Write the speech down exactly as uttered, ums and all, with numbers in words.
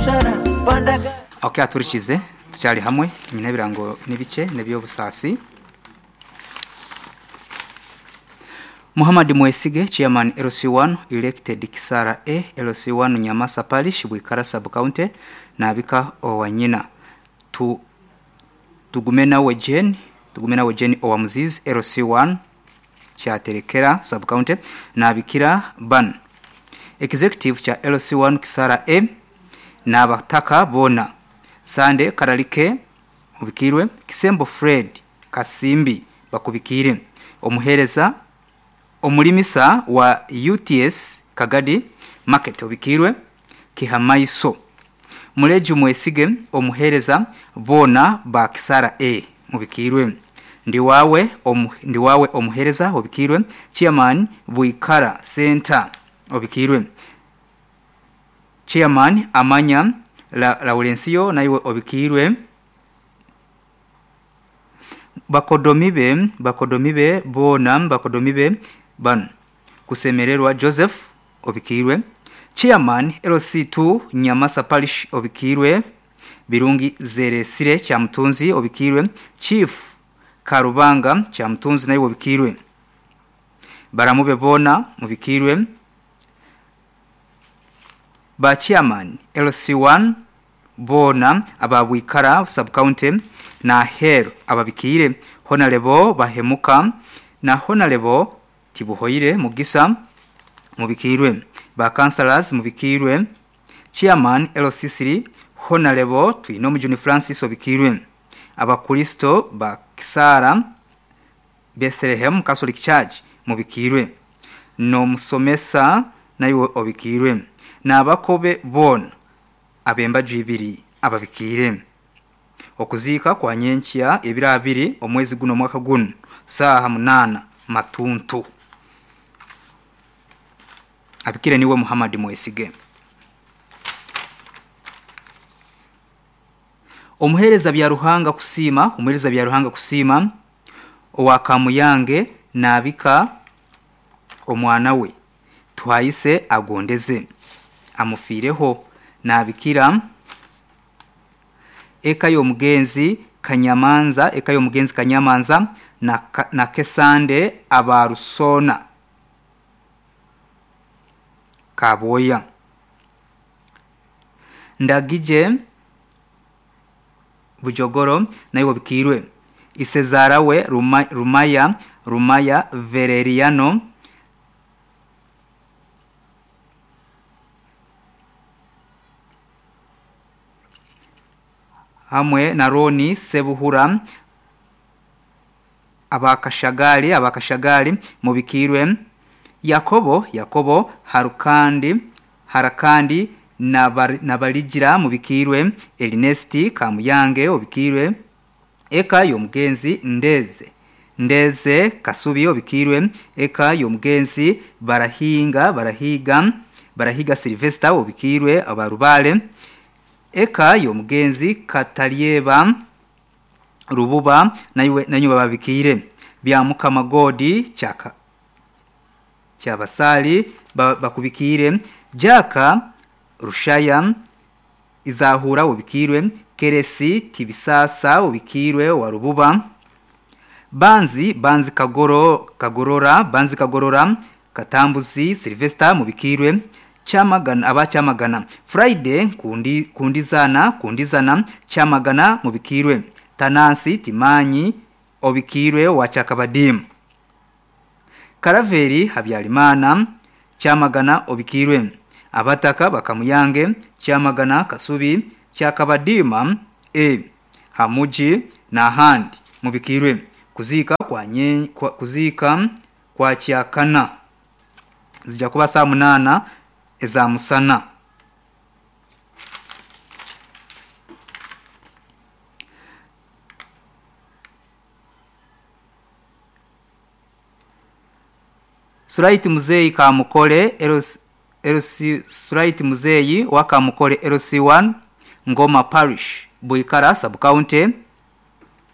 biashara panda gari. Okay, aturikize tucyari hamwe nyine birango nibice nebyobusaasi. Muhammad Mwesige, Chairman L C one, elected Kisara A, L C one Nyamasa Parish, Bwikara Sub County, nabika owanyina. Tu, tugume nawe Jane, tugume nawe Jane Owamuzizi, L C one, Kyaterekera Sub County, nabikira ban. Executive cha L C one Kisara A, nabataka bona. Sande Karalike, ubikirwe, Kisembo Fred, Kasimbi, bakubikire. Omuhereza omulimisa wa U T S Kagadi Market obikirwe Kihamaiso. Muleju Mwesige omuhereza bona ba Kisara A mubikirwe. Ndiwawe omu, ndiwawe omuhereza obikirwe Chairman Buikara Center obikirwe. Chairman Amanya la, Laurencio naiwe obikirwe. Bakodomibe, bakodomibe bona, bakodomibe ban kusemererwa Joseph obikirwe. Chairman L C two Nyamasa Parish obikirwe. Birungi Zeresire Chamutunzi obikirwe. Chief Karubanga Chamutunzi nawe obikirwe. Baramube bona mubikirwe. Ba Chairman L C one bona ababwikara sub county na hero ababikire. Honarebo bahemuka na honarebo tibuhoire mugisa mubikirwe. Ba councillors mubikirwe. Chairman L C three honarebo Twinomujuni Francis obikirwe. Abakristo ba Kisara Bethlehem Catholic Church mubikirwe. No musomesa nayo obikirwe. Nabakobe bona abemba jibiri ababikire. Okuzika kwa nyenchia ebira abiri omwezi guno mwaka guno saha munana matuntu. Abikire niwe Muhammad Mwesige. Omuhereza bya Ruhanga kusima, omuhereza bya Ruhanga kusima owakamuyange nabika omwana we twayise agondeze amufireho nabikira eka y'omugenzi Kanyamanza, eka y'omugenzi Kanyamanza na, na Kesande abarusona Kaboya. Ndagije Bujogoro nayo bikirwe. Isezara we Ruma, Rumaya Rumaya Vereriano hamwe na Roni Sebuhura abakashagali abakashagali mubikirwe. Yakobo Yakobo Harukandi Harakandi na Baligira mubikirwe. Ernesti Kamuyange obikirwe. Eka y'omugenzi Ndeze Ndeze Kasubi obikirwe. Eka y'omugenzi Barahinga Barahiga Barahiga Sylvester obikirwe abarubale. Eka y'omugenzi Katalieba Rububa naiwe nanyu babikire. Bya Mukama Godi chaka Kyabasali bakubikire. Jaka Rushaya Izahura ubikirwe. Keresi Tibisasa ubikirwe wa Rububa. Banzi Banzi Kagoro Kagorora Banzi Kagorora Katambuzi Sylvester mubikirwe. Chamagana aba Chamagana Friday kundi kundizana kundizana Chamagana mubikirwe. Tanansi Timanyi obikirwe wa Chakabadimu. Karaveri Habyarimana Chamagana obikirwe. Abataka Bakamuyange Chamagana Kasubi Chakabadima e Hamuji na handi mubikirwe. Kuzika kwa nye, kwa, kuzika kwa Chiakana zija kuba saa munana eza musana. Suraiti Muzeyi Kamukole L C Suraiti Muzeyi wa Kamukole L C one Ngoma Parish Buikara Sub County